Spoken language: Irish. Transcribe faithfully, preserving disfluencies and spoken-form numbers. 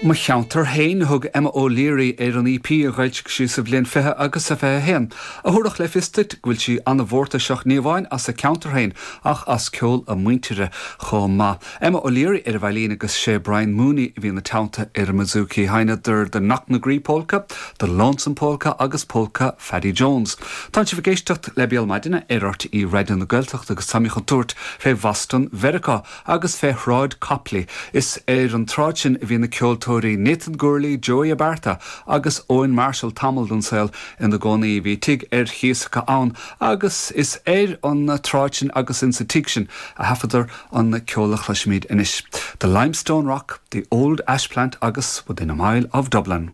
Mo cheantar féin thug Emma O'Leary ar an EP a d'fhoilsigh sí sa bhliain fiche agus a fiche haon, a thabharfadh le fios duit go bhfuil sí an-mhórtasach ní amháin as a ceantar féin ach as ceol a muintire chomh maith. Emma O'Leary ar an veidhlín agus sé Brian Mooney a bhí ina teannta ar an mbouzouki sheinneadar the Knocknagree Polka, the Lonesome Polka agus Polka Phaddy Jones. Tá sibh ag éisteacht le Béal Maidine ar RTÉ Raidió na Gaeltachta agus táimid chun tabhairt fé Bhoston Mheiriceá agus fé Shráid Copley. Is ar an tsráid sin a bhí na ceoltóirí Nathan Gourley, Joey Abarta agus Owen Marshall tamall den saol ina gcónaí bhí tigh ar chíos acu ann agus is ar an tsráid sin agus insa tigh sin a thaifeadadar an ceol a chloisimid anois. The Limestone Rock, the Old Ash Plant agus Within a Mile of Dublin.